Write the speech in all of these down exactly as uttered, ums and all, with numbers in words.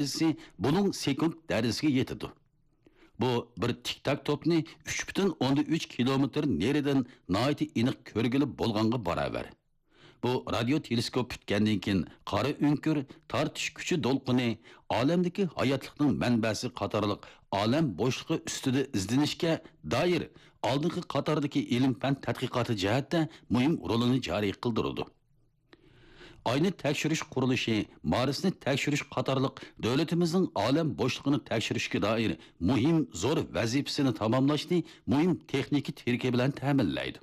دەرىجىسى بۇلۇڭ سېكۇنت دەرىجىسىگە يېتىدۇ. بۇ بىر تىك-تاك توپنى ئۈچ پۈتۈن ئوندىن ئۈچ كىلومېتىر نېرىدىن ناھايىتى ئېنىق كۆرگىلى بولغانغا باراۋەر. بۇ رادىيو تېلېسكوپ پۈتكەندىن كېيىن قارا ئۆڭكۈر، تارتىش كۈچى دولقۇنى، ئالەمدىكى ھاياتلىقنىڭ مەنبەسى قاتارلىق ئالەم بوشلۇقى ئۈستىدە ئىزدىنىشكە دائىر ئالدىنقى قاتاردىكى ئىلىم-پەن تەتقىقاتى جەھەتتە مۇھىم رولىنى جارى قىلدۇرىدۇ. ئاينى تەكشۈرۈش قۇرۇلۇشى، مارسنى تەكشۈرۈش قاتارلىق دۆلىتىمىزنىڭ ئالەم بوشلۇقىنى تەكشۈرۈشكە دائىر مۇھىم زور ۋەزىپىسىنى تاماملاشنى مۇھىم تېخنىكا تىرىكى بىلەن تەمىنلەيدۇ.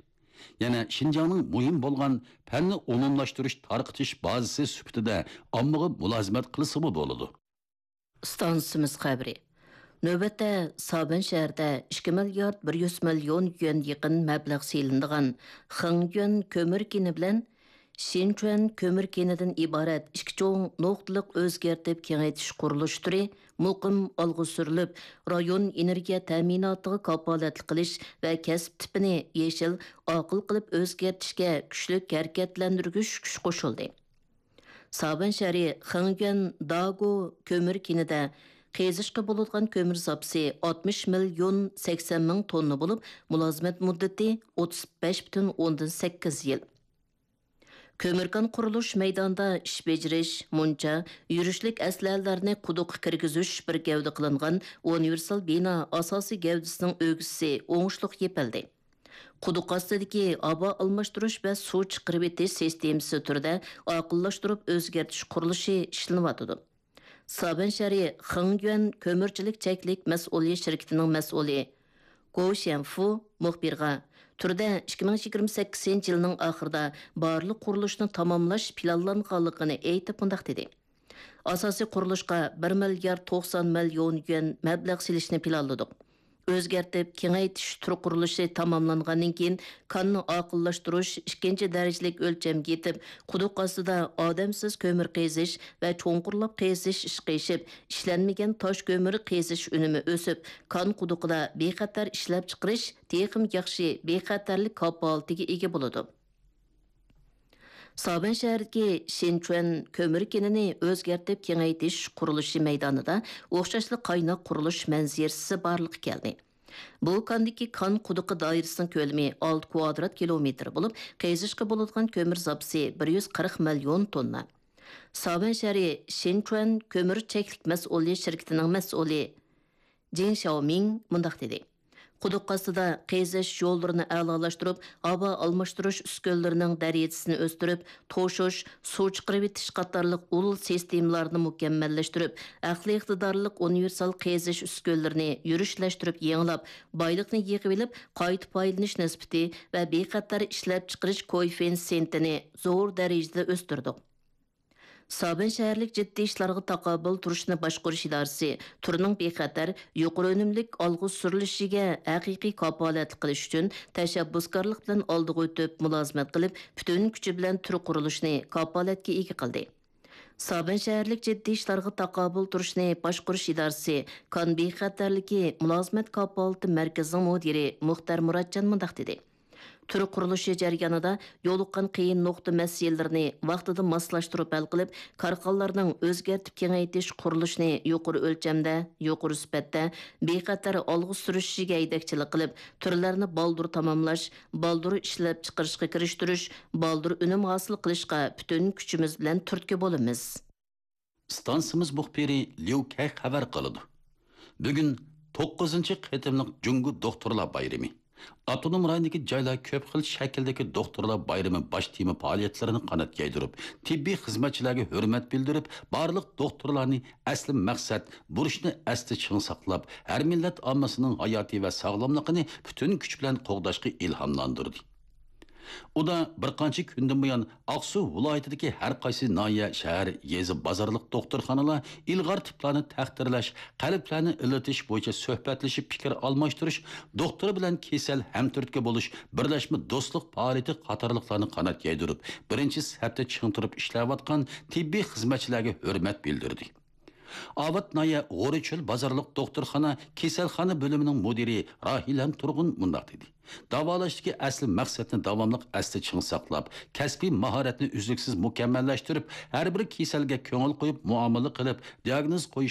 يەنە شىنجاڭنىڭ مۇھىم بولغان پەننى ئومۇملاشتۇرۇش تارقىتىش بازىسى سۈپىتىدە ئاممىغا مۇلازىمەت قىلسىمۇ بولىدۇ. ئىستانسىمىز خەۋىرى. نۆۋەتتە سابەن شەھىرىدە ئىككى مىليارد بىر يۈز مىليون يۈەن يېقىن مەبلەغ سېلىنىدىغان خېڭيۈەن كۆمۈر كېنى بىلەن شىنچۈەن كۆمۈر كېنىدىن ئىبارەت ئىككى چوڭ نۇقتىلىق ئۆزگەرتىپ كېڭەيتىش قۇرۇلۇش تۈرى مۇقىم ئالغا سۈرۈلۈپ، رايون ئېنېرگىيە تەمىناتىغا كاپالەتلىك قىلىش ۋە كەسىپ تىپىنى يېشىل، ئاقىل قىلىپ ئۆزگەرتىشكە كۈچلۈك ھەرىكەتلەندۈرگۈچ كۈچ قوشۇلدى. سابەن شەھىرى خېڭيۈەن داگو كۆمۈر كېنىدە قېزىشقا بولىدىغان كۆمۈر زاپىسى ئاتمىش مىليون سەكسەن مىڭ توننا بولۇپ، مۇلازىمەت مۇددىتى ئوتتۇز بەش پۈتۈن ئوندىن سەككىز يىل. كۆمۈر كان قۇرۇلۇش مەيدانىدا ئىش بېجىرىش، مۇنچا، يۈرۈشلۈك ئەسلىھەلەرنى قۇدۇققا كىرگۈزۈش بىر گەۋدە قىلىنغان ئۇنىۋېرسال بىنا ئاساسىي گەۋدىسىنىڭ ئۆگزىسى ئوڭۇشلۇق يېپىلدى. قۇدۇق ئاستىدىكى ھاۋا ئالماشتۇرۇش ۋە سۇ چىقىرىۋېتىش سىستېمىسى تۈرىدە ئاقىللاشتۇرۇپ ئۆزگەرتىش قۇرۇلۇشى ئىشلىنىۋاتىدۇ. سابەن شەھىرى خېڭيۈەن كۆمۈرچىلىك چەكلىك مەسئۇلىيەت شىركىتىنىڭ مەسئۇلى گو شيەنفۇ مۇخبىرغا تۈردە ئىككى مىڭ يىگىرمە سەككىزىنچى يىلنىڭ ئاخىرىدا بارلىق قۇرۇلۇشنى تاماملاش پىلانلانغانلىقىنى ئېيتىپ مۇنداق دېدى: ئاساسىي قۇرۇلۇشقا بىر مىليارد توقسان مىليون يۈەن مەبلەغ سېلىشنى پىلانلىدۇق. ئۆزگەرتىپ كېڭەيتىش تۈر قۇرۇلۇشى تاماملانغاندىن كېيىن، كاننى ئاقىللاشتۇرۇش، ئىككىنچى دەرىجىلىك ئۆلچەمگە يېتىپ، قۇدۇق ئاستىدا ئادەمسىز كۆمۈر قېزىش ۋە چوڭقۇرلاپ قېزىش ئىشقا ئېشىپ، ئىشلەنمىگەن تاش كۆمۈر قېزىش ئۈنۈمى ئۆسۈپ، كان قۇدۇقىدا بىخەتەر ئىشلەپچىقىرىش تېخىمۇ ياخشى بىخەتەرلىك كاپالىتىگە ئىگە بولىدۇ. سابەن شەھىرىدىكى شىنچۈەن كۆمۈر كېنىنى ئۆزگەرتىپ كېڭەيتىش قۇرۇلۇشى مەيدانىدا ئوخشاشلا قايناق قۇرۇلۇش مەنزىرىسى بارلىققا كەلدى. بۇ كاندىكى كان قۇدۇقى دائىرىسىنىڭ كۆلىمى ئالتە كۋادرات كىلومېتىر بولۇپ، قېزىشقا بولىدىغان كۆمۈر زاپىسى بىر يۈز قىرىق مىليون توننا. سابەن شەھىرى شىنچۈەن كۆمۈر چەكلىك مەسئۇلىيەت شىركىتىنىڭ مەسئۇلى جېڭ شياۋمىڭ مۇنداق دېدى: قۇدۇق ئاستىدا قېزىش يوللىرىنى ئەلالاشتۇرۇپ، ھاۋا ئالماشتۇرۇش ئۈسكۈنىلىرىنىڭ دەرىجىسىنى ئۆستۈرۈپ، توشۇش، سۇ چىقىرىۋېتىش قاتارلىق ئۇل سىستېمىلارنى مۇكەممەللەشتۈرۈپ، ئەقلىي ئىقتىدارلىق ئۇنىۋېرسال قېزىش ئۈسكۈنىلىرىنى يۈرۈشلەشتۈرۈپ يېڭىلاپ، بايلىقنى يىغىۋېلىپ، قايتا پايدىلىنىش نىسبىتى ۋە بىخەتەر ئىشلەپچىقىرىش كوئېففىتسېنتىنى زور دەرىجىدە ئۆستۈردۇق. سابەن شەھەرلىك جىددىي ئىشلارغا تاقابىل تۇرۇشنى باشقۇرۇش ئىدارىسى تۈرنىڭ بىخەتەر، يۇقىرى ئۈنۈملۈك ئالغا سۈرۈلۈشىگە ھەقىقىي كاپالەتلىك قىلىش ئۈچۈن تەشەببۇسكارلىق بىلەن ئالدىغا ئۆتۈپ مۇلازىمەت قىلىپ، پۈتۈن كۈچى بىلەن تۈر قۇرۇلۇشىنى كاپالەتكە ئىگە قىلدى. سابەن شەھەرلىك جىددىي ئىشلارغا تاقابىل تۇرۇشنى باشقۇرۇش ئىدارىسى كان بىخەتەرلىكى مۇلازىمەت كاپالىتى مەركىزىنىڭ مۇدىرى مۇختەر مۇراتجان مۇنداق دېدى: تۈر قۇرۇلۇشى جەريانىدا يولۇققان قىيىن نۇقتا مەسىلىلىرىنى ۋاقتىدا ماسلاشتۇرۇپ ھەل قىلىپ، كارخانىلارنىڭ ئۆزگەرتىپ كېڭەيتىش قۇرۇلۇشىنى يۇقىرى ئۆلچەمدە، يۇقىرى سۈپەتتە، بىخەتەر ئالغا سۈرۈشىگە ھەيدەكچىلىك قىلىپ، تۈرلەرنى بالدۇر تاماملاش، بالدۇر ئىشلەپچىقىرىشقا كىرىشتۈرۈش، بالدۇر ئۈنۈم ھاسىل قىلىشقا پۈتۈن كۈچىمىز بىلەن تۈرتكە بولىمىز. ئىستانسىمىز مۇخبىرى ليۇ كەي خەۋەر قىلىدۇ. بۈگۈن توققۇزىنچى قېتىملىق جۇڭگو دوختۇرلار بايرىمى. ئاپتونوم رايوندىكى جايلار كۆپ خىل شەكىلدىكى دوختۇرلار بايرىمى باش تېما پائالىيەتلىرىنى قانات يايدۇرۇپ، تېببىي خىزمەتچىلەرگە ھۆرمەت بىلدۈرۈپ، بارلىق دوختۇرلارنى ئەسلى مەقسەت، بۇرچنى ئەستە چىڭ ساقلاپ، ھەر مىللەت ئاممىسىنىڭ ھاياتى ۋە ساغلاملىقىنى پۈتۈن كۈچ بىلەن قوغداشقا ئىلھاملاندۇردى. ئۇدا بىر قانچە كۈندىن بۇيان ئاقسۇ ۋىلايىتىدىكى ھەر قايسى ناھىيە، شەھەر، يېزا، بازارلىق دوختۇرخانىلار ئىلغار تىپلارنى تەقدىرلەش، قەلبلەرنى ئىللىتىش بويىچە سۆھبەتلىشىپ پىكىر ئالماشتۇرۇش، دوختۇر بىلەن كېسەل ھەمتۈرتكە بولۇش، بىرلەشمە دوستلۇق پائالىيىتى قاتارلىقلارنى قانات يايدۇرۇپ، بىرىنچى سەپتە چىڭ تۇرۇپ ئىشلەۋاتقان تېببىي خىزمەتچىلەرگە ھۆرمەت بىلدۈردى. ئاۋات ناھىيە غورىچۆل بازارلىق دوختۇرخانا كېسەلخانا بۆلۈمىنىڭ مۇدىرى راھىلەم تۇرغۇن مۇنداق دېدى: داۋالاشتىكى ئەسلى مەقسەتنى داۋاملىق ئەستە چىڭ ساقلاپ، كەسپىي ماھارەتنى ئۈزلۈكسىز مۇكەممەللەشتۈرۈپ، ھەر بىر كېسەلگە كۆڭۈل قويۇپ مۇئامىلە قىلىپ، دىئاگنوز قويۇش